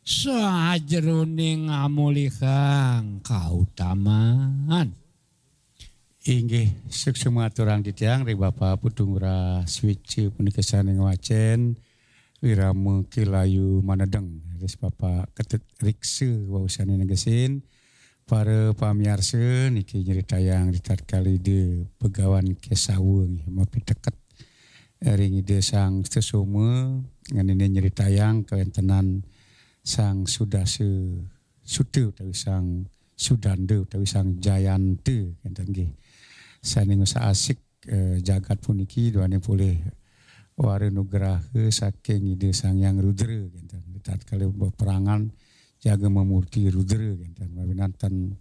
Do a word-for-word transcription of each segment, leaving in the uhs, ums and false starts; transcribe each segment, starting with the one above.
Sajeroning ngamolihang kautaman. Inggih, suksma aturang titiang ring Bapa Putu Ngurah Swéca punika sané ngwacén wirama Ki Layu Manedeng, ris Bapa Ketut Riksa wau sané negesin. Para pamiarsa, niki nyritayang ritatkala Ida Begawan Kesawa nggih mapiteket ring Ida Sang Sutasoma, ngenénin nyritayang kawéntenan Sang Sudasa Suta utawi Sang Sudanda utawi Sang Jayanta, kénten nggih. Sané ngusak-asik eh, jagat puniki duaning polih wara nugraha saking Ida Sang Hyang Rudra, kénten. Tatkala beperangan jaga mamurti Rudra, kénten. Mawinan ten,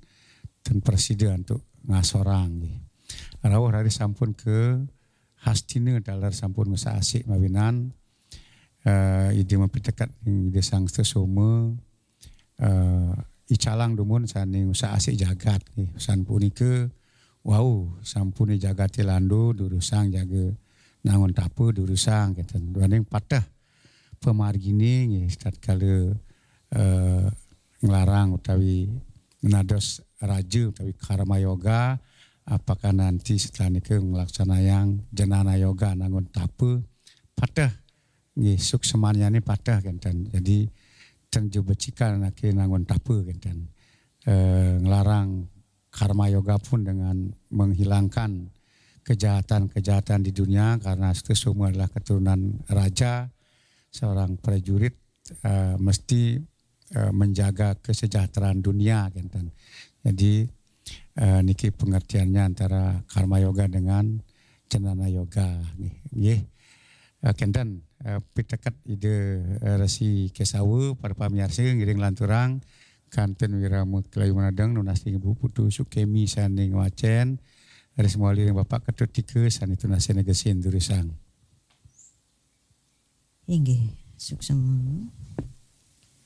ten prasida antuk ngasorang nggih. Rauh raris sampun ka Hastina taler sampun ngusak-asik mawinan eh, Ida mapiteket ring Ida Sang Sutasoma, eh, icalang dumun sané ngusak-asik jagat nggih. San punika wau sampune jagate lando durusang jaga nangun tapa durusang kenten. Duaning pateh pamargine nggih tatkala eh, nglarang utawi nados raja utawi karma yoga, apakah nanti setelah nika nglaksanayang jnana yoga nangun tapa pateh nggih, suksmanyane pateh kenten. Jadi ten jebecikan anake nangun tapa kenten. Eh, nglarang karma yoga pun dengan menghilangkan kejahatan-kejahatan di dunia karena Sutasoma adalah keturunan raja, seorang prajurit eh, mesti eh, menjaga kesejahteraan dunia kenten. Jadi eh, niki pengertiannya antara karma yoga dengan jnana yoga nggih. Nggih. Eh, kenten eh, piteket Ida eh, Resi Kesawa para pamiarsa ngiring lanturang kantun wirama Ki Layu Manedeng nunas ring Ibu Putu Sukemi sane ngwacen ris mawali ring Bapak Ketut Tika sane tunasena gesin durusang. Inggih, suksma.